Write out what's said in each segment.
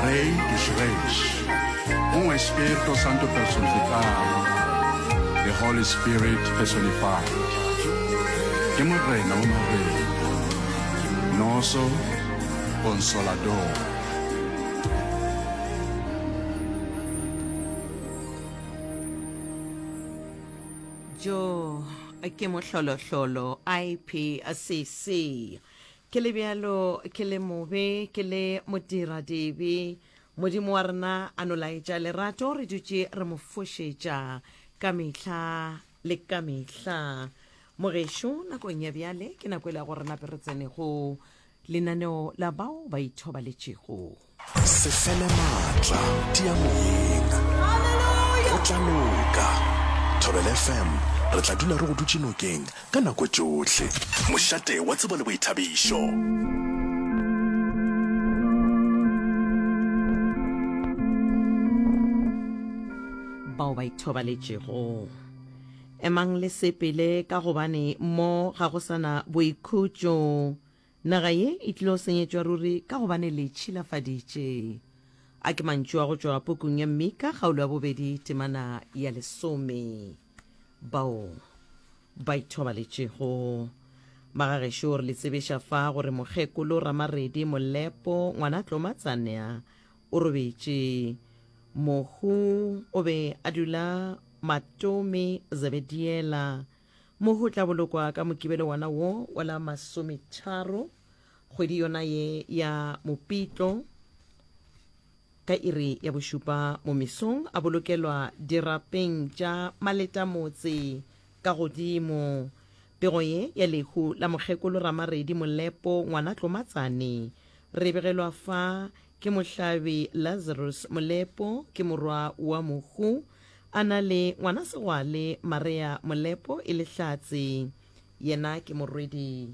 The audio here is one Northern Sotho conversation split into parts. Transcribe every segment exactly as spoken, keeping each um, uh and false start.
Rei dos Reis, um Espírito Santo personificado, the Holy Spirit personified. Ke Morena wa marena, nosso Consolador. Jo ke mohlolohlolo I P C C. Ke le bjalo, ke le mobe, ke le modiradibe, Modimo wa rena a no laetša lerato, re dutše re mo fošetša ka mehla le ka mehla. Mogešo, nakong ya bjale ke nako e le ya gore nape re tsene go lenaneo la bao ba ithobaletšego. Se fele maatla, tia moyeng. Go tla loka. Thobela F M, re tla dula re go dutše nokeng ka nako tšohle. Mošate wa tsebo le boithabišo. Bao ba ithobaletšego, emang le sepele, ka gobane mo ga go sa na boikhutšo. Naga ye e tlilo senyetšwa ruri, ka gobane le tšhilafaditše. A ke mantšu a go tšwa pukung ya Mika, kgaolo ya bobedi, temana ya lesome. Bao ba ithobaletšego, magagešo, re le tsebiša fa gore mokgekolo Ramaredi Molepo ngwana Tlomatsanea o robetše. Mohu o be a dula Matome Zebediela. Mohu o tla bolokwa ka Mokibelo wona wo wa la masometharo kgwedi yona ye ya Mopitlo ka iri ya bošupa mo mesong, a bolokelwa dirapeng tša Maletamotse ka godimo. Pego ye ya lehu la mokgekolo Ramaredi Molepo ngwana Tlomatsane re begelwa fa ke mohlabi Lazarus Molepo, ke morwa wa mohu, a na le ngwana Segwale Maria Molepo e le hlatse, yena ke morwedi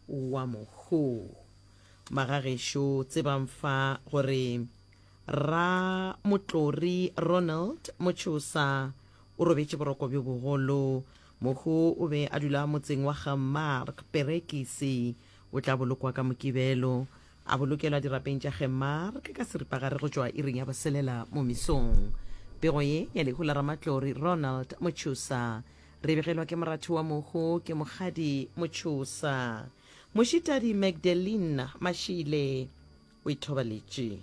wa mohu. Magagešo, tsebang fa gore ra motlori Ronald Motšhosa o robetše boroko bjo bogolo. Mohu o be a dula motseng wa ga Mark Perekisi. O tla bolokwa ka Mokibelo, a bolokelwa dirapeng tša ge Mark ka seripagare go tšwa iring ya boselela mo mesong. Pego ye ya lehu la ramatlori Ronald Motšhosa re begelwa ke moratho wa mohu, ke Mokgadi Motšhosa. Mošitadi Magdalene Mashile o ithobaletše.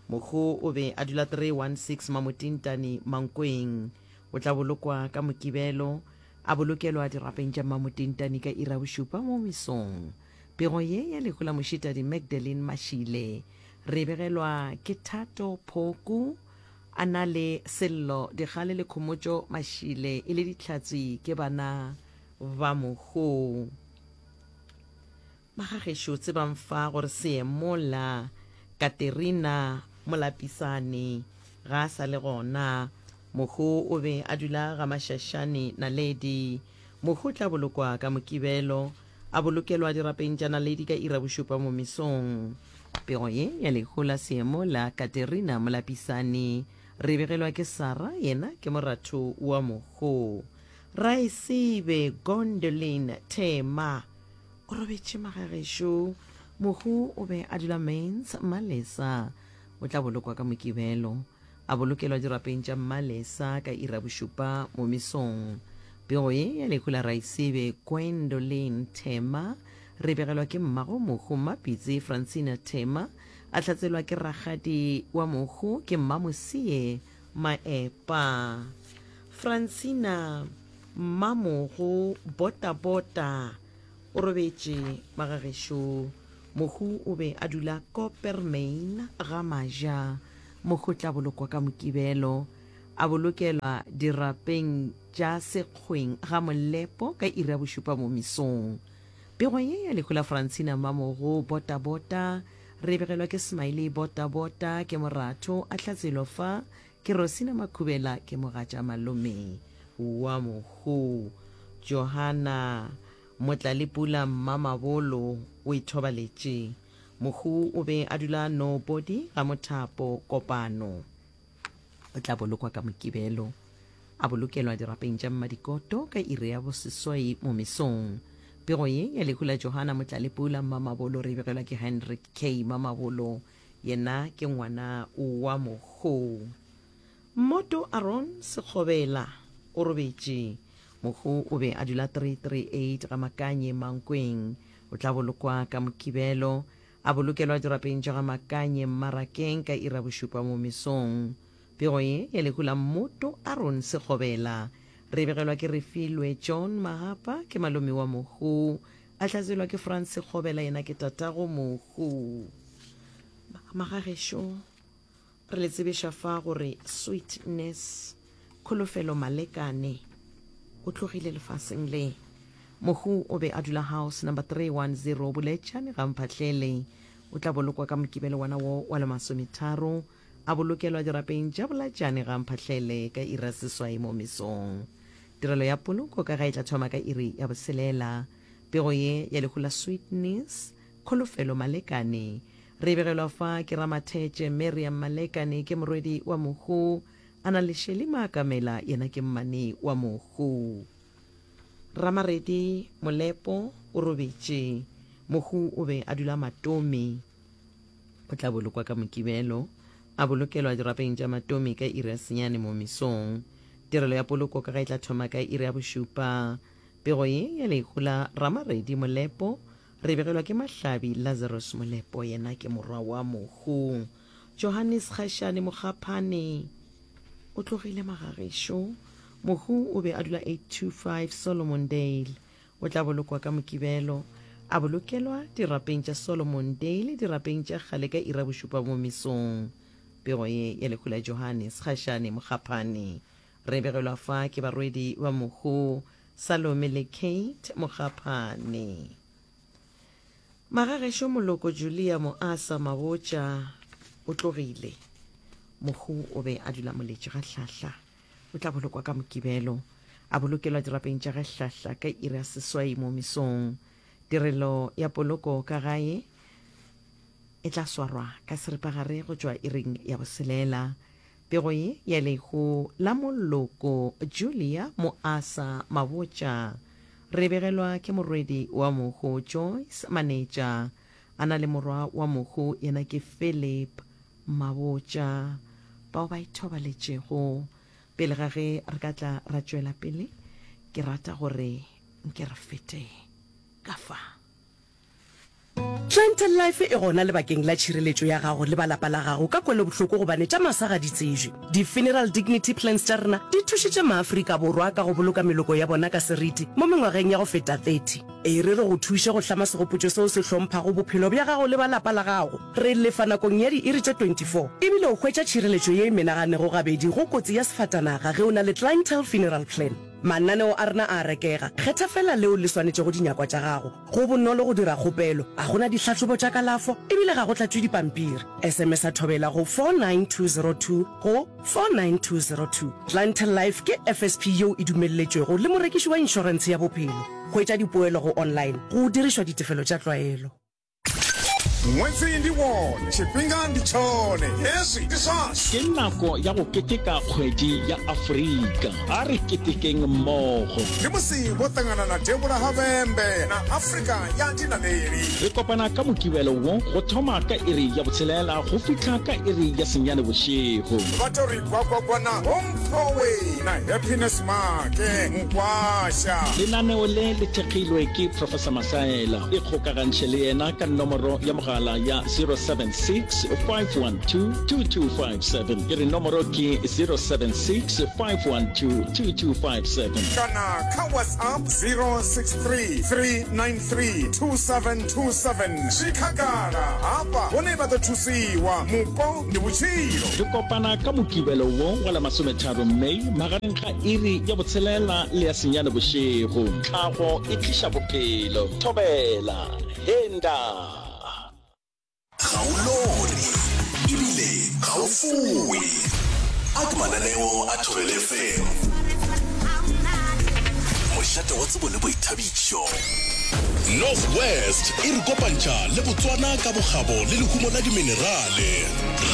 Mohu o be a dula three one six Mamotintane Mankweng. O tla bolokwa ka Mokibelo, a bolokelwa dirapeng tša Mamotintane ka iri ya bošupa mo mesong. Pego ye ya lehu la mošitadi Magdalene Mashile re begelwa ke Thato Phoku a na le Sello Dikgale le Khomotšo Mashile e le dihlatse, ke bana ba mohu. Magagešo, tsebang fa gore seemola Katerina Molapisane ga a sa le gona. Mohu o be a dula ga Mašašane Naledi. Mohu o tla bolokwa ka Mokibelo, a bolokelwa dirapeng tša Naledi ka iri ya bošupa mo mesong. Pego ye ya lehu la seemola Katerina Molapisane re begelwa ke Sara, yena ke moratho wa mohu. Raesibe Gondolin Thema o robetše magagešo. Mohu o be a dula Mainz Malesa. O tla bolokwa ka Mokibelo, a bolokelwa dirapeng tša Malesa ka iri ya bošupa mo mesong. Pego ye ya lehu la Raesibe Gwendolyn Thema re begelwa ke mmago mohu Mapitsi Francina Thema, a hlatselwa ke rakgadi wa mohu, ke Mmamosie Maepa. Francina Mmamogo Botabota o robetše magagešo. Mohu o be a dula Kopermain ga Maja. Mohu o tla bolokwa ka Mokibelo, a bolokelwa dirapeng tša Sekgweng ga Molepo ka iri ya bošupa mo mesong. Pego ye ya lehu la Francina Mmamogo Botabota re begelwa ke Smiley Botabota, ke moratho, a hlatselwa fa ke Rosina Makhubela, ke mogatša malome wa mohu. Johanna Motlalepula Mmamabolo o ithobaletše. Mohu o be a dula Nobody ga Mothapo Kopano. O tla bolokwa ka Mokibelo, a bolokelwa dirapeng tša Mmadikoto ka iri ya boseswai mo mesong. Pego ye ya lehu la Johanna Motlalepula Mmamabolo re begelwa ke Hendrik K Mamabolo, Yena ke ngwana wa mohu. Mmoto Aron Sekgobela o robetše. Mohu o be a dula three three eight ga Makanye, Mankweng. O tla bolokwa ka Mokibelo, a bolokelwa dirapeng tša ga Makanye mmarakeng ka iri ya bošupa mo mesong. Pego ye ya lehu la Mmoto Aron Sekgobela re e begelwa ke Refilwe John Mahapa, ke malome wa mohu, a hlatselwa ke Frans Sekgobela, yena ke tatago mohu. Magagešo, re le tsebiša fa gore Sweetness Kholofelo Malekane o tlogile lefaseng le. Mohu o be a dula house number three one zero Boletšane ga Mphahlele. O tla bolokwa ka Mokibelo wona wo wa le masometharo, a bolokelwa dirapeng tša Bolatšane ga Mphahlele ka iri ya seswai mo mesong. Tirelo ya poloko ka ga e tla thoma ka iri ya boselela. Pego ye ya lehu la Sweetness Kholofelo Malekane re e begelwa fa ke Ramathetše Miriam Malekane, ke morwedi wa mohu, a na le Shelly Maakamela, yena ke mmane wa mohu. Ramaredi Molepo o robetše. Mohu o be a dula Matome. O tla bolokwa ka Mokibelo, a bolokelwa dirapeng tša Matome ka iri ya senyane mo mesong. Tirelo ya poloko ka ga e tla thoma ka iri ya bošupa. Pego ye ya lehu la Ramaredi Molepo re e begelwa ke Mahlabi Lazarus Molepo, yena ke morwa wa mohu. Johannes Kgashane Mokgaphane o tlogile magagešo. Mohu o be a dula eight two five Solomondale. O tla bolokwa ka Mokibelo, a bolokelwa dirapeng tša Solomondale dirapeng tša kgale ka iri ya bošupa mo mesong. Pego ye ya lehu la Johannes Kgashane Mokgaphane re e begelwa fa ke barwedi ba mohu Salome le Kate Mokgaphane. Magagešo Moloko Julia Moasa Mabotja o tlogile. Mohu o be a dula Moletši ga Hlahla. O tla bolokwa ka Mokibelo, a bolokelwa dirapeng tša ga Hlahla ka iri ya seswai mo mesong. Tirelo ya poloko ka gae e tla swarwa ka seripagare go tšwa iring ya boselela. Pego ye ya lehu la Moloko Julia Moasa Mabotja re e begelwa ke morwedi wa mohu Joyce Manetša, a na le morwa wa mohu yena ke Philip Mabotja, bao ba ithobaletšego. Pele ga ge re ka tla ra tšwela pele, ke rata gore nke re fete ka fa. Clientele Life e gona lebakeng la tšhireletšo ya gago le ba lapa la gago ka kwelobohloko gobane tša masa ga di tsejwe. Di-Funeral Dignity Plans tša rena di thušitše maAfrika Borwa ka go boloka meloko ya bona ka seriti mo mengwageng ya go feta thirty. E re re go thuše go hlama segopotšo seo se hlomphago bophelo bja gago le ba lapa la gago. Re lefa nakong ya diiri tše twenty four ebile o hwetša tšhireletšo ye e menaganego gabedi go kotsi ya sefatanaga ge o na le Clientele Funeral Plan. Mananeo a rena a a rekega, kgetha feela leo le swanetšego dinyakwa tša gago. Go bonolo go dira kgopelo, ga go na dihlahlobo tša kalafo ebile ga go tlatšwe dipampiri. S M S-a Thobela go four nine two zero two go four nine two zero two. Clientele Life ke F S P yeo e dumelletšwego le morekiši wa inšorentshe ya bophelo. Hwetša dipoelo go online go dirišwa ditefelo tša tlwaelo. Ṅwedzi ndi wone, tshifhinga ndi tshone, hezwi ndi zwashu. Ke nako ya go keteka Kgwedi ya Afrika. A re ketekeng mmogo. Ndi musi vho ṱangana na Devhula ha Vhembe na Afrika ya Dinaleli. Re kopana ka Mokibelo wo go thoma ka iri ya botshelela go fihla ka iri ya senyane bošego. Vha tou ri gwagwagwa na Homphowe na Happiness Maake Mukwasha. Lenaneo le le thekgilwe ke Professor Masaela. Ikgokagantšhe le yena ka nomoro ya mogala ya zero seven six, five one two, two two five seven. Ke re nomoro ke zero seven six, five one two, two two five seven. Kana kha WhatsApp zero six three, three nine three, two seven two seven. Zwi khagala hafha hone vha ḓo thusiwa. Mupo ndi vhutshilo. Re kopana ka Mokibelo wo wa la masometharo May magareng ga iri ya botshelela le ya senyane bošego. Tlhago e tliša bophelo. Thobela. Henda. Ga o lore ebile ga o fowe. A ke mananeo a Thobela F M. Mošate wa tsebo le boithabišo. North West e re kopantšha le Botswana ka bokgabo le lehumo la diminerale.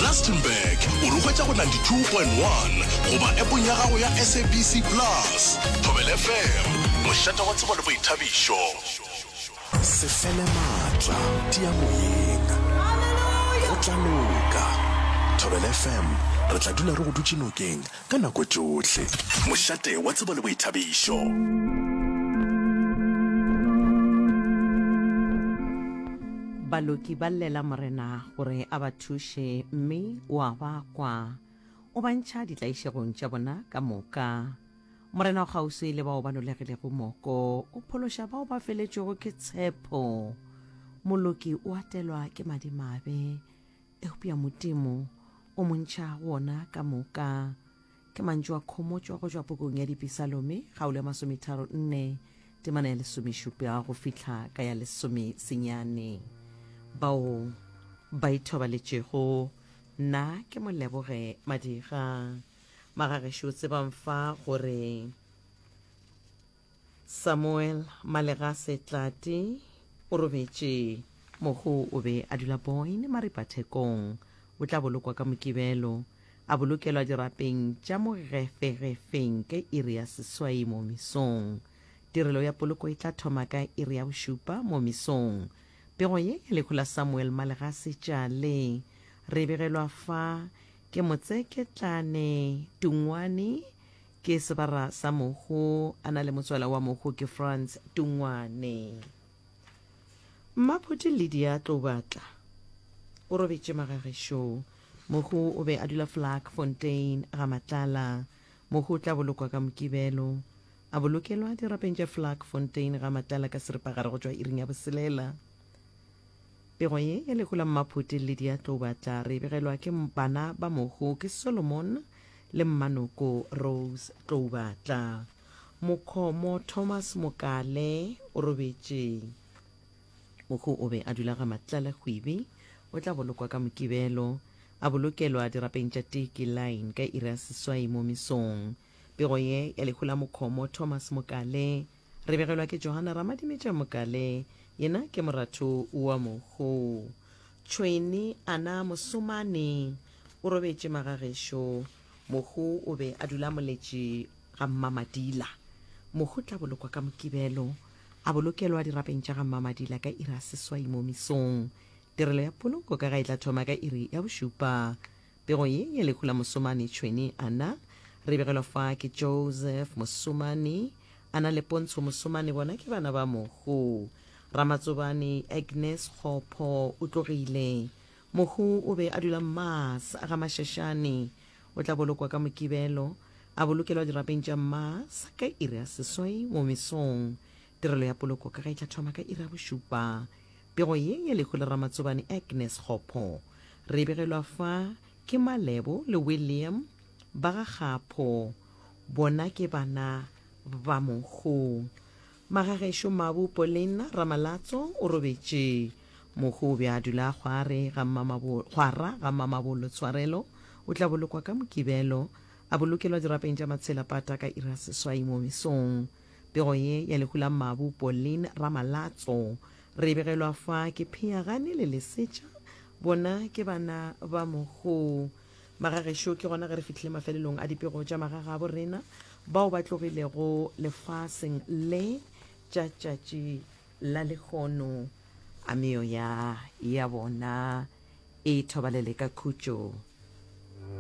Rustenburg o re hwetša go ninety-two point one goba appong ya gago ya S A B C Plus. Thobela F M, mošate wa tsebo le boithabišo. Se fele maatla, tia moyeng. Go tla loka. F M, re tla dula re go dutše nokeng ka nako tšohle. Mošate wa tsebo le boithabišo. Baloki ba llela Morena gore a ba thuše, mme o a ba kwa. O ba ntšha ditlaišegong tša bona ka moka. Morena o kgauswi le bao ba nolegilego moko, o phološa bao ba feletšwego ke tshepo. Moloki o atelwa ke madimabe, eupša Modimo o mo ntšha go ona ka moka. Ke mantšu a khomotšo go tšwa pukung ya Dipisalome, kgaolo ya masometharo nne, temana ya lesomešupa go fihla ka ya lesomesenyane. Bao ba ithobaletšego, nna ke Moleboge Madiga. Magagešo tsebang fa gore Samuel Malegase Tlati o robetše. Mohu o be a dula Boyne, Maripathekong. O tla bolokwa ka Mokibelo, a bolokelwa dirapeng tša Mogefegefeng ka iri ya seswai mo mesong. Tirelo ya poloko e tla thoma ka iri ya bošupa mo mesong. Pego ye ya lehu la Samuel Malegase Tšale re e begelwa fa ke Motseketlane Tungwane, ke sebara sa mohu, a na le motswala wa mohu ke Frans Tungwane. Mmaphuti Lydia Tloubatla o robetše magagešo. Mohu o be a dula Vlakfontein ga Matlala. Mohu o tla bolokwa ka Mokibelo. A bolokelwa dirapeng tša Vlakfontein ga Matlala ka seripagare go tšwa iring ya boselela. Pego ye ya lehu la Mmaphuti Lydia Tloubatla re e begelwa ke bana ba mohu ke Solomon le Mmanoko Rose Tloubatla. Mokhomo Thomas Mokale o robetše. Mohu o be a dula ga Matlala Hwibi. O tla bolokwa ka Mokibelo. A bolokelwa dirapeng tša Tiki Line ka iri ya seswai mo mesong. Pego ye ya lehu la Mokhomo Thomas Mokale re begelwa ke Johanna Ramadimetša Mokale, yena ke moratho wa mohu. Tšhwene Ana Mosomane o robetše magagešo. Mohu o be a dula Moletši ga Mmamadila. Mohu o tla bolokwa ka Mokibelo. A bolokelwa dirapeng tša ga Mmamadila ka iri ya seswai mo mesong. Tirelo ya poloko ka ga e tla thoma ka iri ya bošupa. Pego ye ya lehu la Mosomane Tšhwene Ana re begelwa fa ke Joseph Mosomane a na le Pontsho Mosomane, bona ke bana ba mohu. Ramatsobane Agnes Kgopho o tlogile. Mohu o be a dula Mars ga Mashashane. O tla bolokwa ka Mokibelo, a bolokelwa dirapeng tša Mars ka iri ya seswai mo mesong. Tirelo ya poloko ka ga e tla thoma ka iri ya bošupa. Pego ye ya lehu la Ramatsobane Agnes Kgopho re e begelwa fa ke Malebo le William ba ga Kgapho, bona ke bana ba mohu. Magagešo Mabu Pauline Ramalatso o robetše. Mohu o be a dula kgware ga Mmamabolo, kgwara ga Mmamabolo Tshwarelo. O tla bolokwa ka Mokibelo, a bolokelwa dirapeng tša Matshelapata ka iri ya seswai mo mesong. Pego ye ya lehu la Mabu Pauline Ramalatso re e begelwa fa ke Pheagane le Lesetša, bona ke bana ba mohu. Magagešo, ke gona ge re fihlile mafelelong a dipego tša magagabo rena bao ba tlogilego lefaseng le tša tšatši la lehono. A meoya ya bona e thobalele ka khutšo.